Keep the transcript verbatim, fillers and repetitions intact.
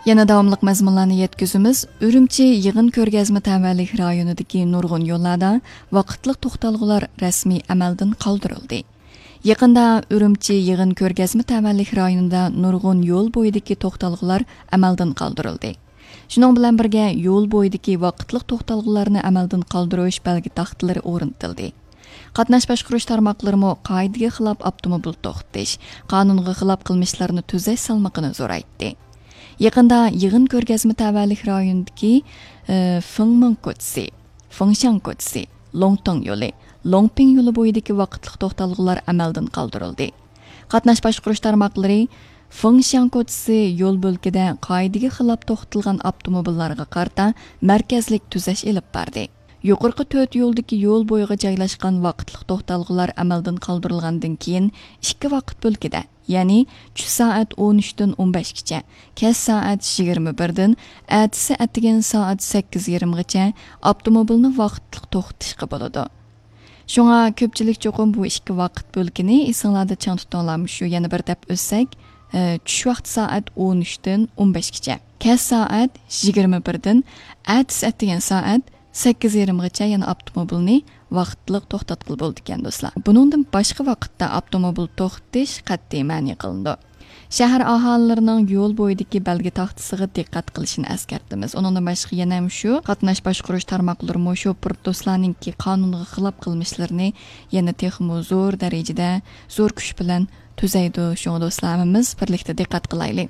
يەنە داۋاملىق مەزمۇنلارنى يەتكۈزىمىز. ئۈرۈمچى يىغىن كۆرگەزمە تەۋەلىك رايونىدىكى نۇرغۇن يوللاردا ۋاقىتلىق توختالغۇلار رەسمىي ئەمەلدىن قالدۇرۇلدى. يېقىندا ئۈرۈمچى يىغىن كۆرگەزمە تەۋەلىك رايونىدا نۇرغۇن يول بويىدىكى توختالغۇلار ئەمەلدىن قالدۇرۇلدى. شۇنىڭ بىلەن بىرگە، يول بويىدىكى ۋاقىتلىق توختالغۇلارنى ئەمەلدىن قالدۇرۇش بەلگە تاختىلىرى ئورنىتىلدى. قاتناش باشقۇرۇش تارماقلىرىمۇ قائىدىگە خىلاپ ئاپتوموبىل توختىتىش، قانۇنغا خىلاپ قىلمىشلارنى تۈزەش سالمىقىنى زورايتتى. يېقىندا يىغىن كۆرگەزمە تەۋەلىك رايونىدىكى، ئى، فېڭمېڭ كوچىسى، فېڭشياڭ كوچىسى، لوڭتېڭ يولى، لوڭپىڭ يولى بويىدىكى ۋاقىتلىق توختالغۇلار ئەمەلدىن قالدۇرۇلدى. قاتناش باشقۇرۇش تارماقلىرى فېڭشياڭ كوچىسى يول بۆلىكىدە قائىدىگە خىلاپ توختىتىلغان ئاپتوموبىللارغا قارىتا مەركەزلىك تۈزەش ئېلىپ باردى. يۇقىرىقى تۆت يولدىكى يول بويىغا جايلاشقان ۋاقىتلىق توختالغۇلار ئەمەلدىن قالدۇرۇلغاندىن كېيىن، ئىككى ۋاقىت بۆلىكىدە، يەنى چۈش سائەت ئون ئۈچتىن ئون بەشكىچە، كەچ سائەت يىگىرمە بىردىن ئەتىسى ئەتىگەن سائەت سەككىز يېرىمغىچە ئاپتوموبىلنى ۋاقىتلىق توختىتىشقا بولىدۇ. شۇڭا كۆپچىلىك چوقۇم بۇ ئىككى ۋاقىت بۆلىكىنى ئېسىڭلاردا چىڭ تۇتۇڭلار، مۇشۇ يەنە بىر دەپ ئۆتسەك، ئە، چۈش ۋاقتى سائەت ئون ئۈچتىن ئون بەشكىچە، كەچ سائەت يىگىرمە بىردىن ئەتىسى ئەتىگەن سائەت سەككىز يېرىمغىچە يەنە ئاپتوموبىلنى ۋاقىتلىق توختاتقىلى بولىدىكەن، دوستلار. بۇنىڭدىن باشقا ۋاقىتتا ئاپتوموبىل توختىتىش قەتئىي مەنئى قىلىنىدۇ. شەھەر ئاھالىلىرىنىڭ يول بويىدىكى بەلگە تاختىسىغا دىققەت قىلىشىنى ئەسكەرتىمىز. ئۇنىڭدىن باشقا يەنە مۇشۇ قاتناش باشقۇرۇش تارماقلىرىمۇ شوپۇر دوستلارنىڭكى قانۇنغا خىلاپ قىلمىشلىرىنى يەنە تېخىمۇ زور دەرىجىدە، زور كۈچ بىلەن تۈزەيدۇ. شۇڭا دوستلار، ھەممىمىز بىرلىكتە دىققەت قىلايلى.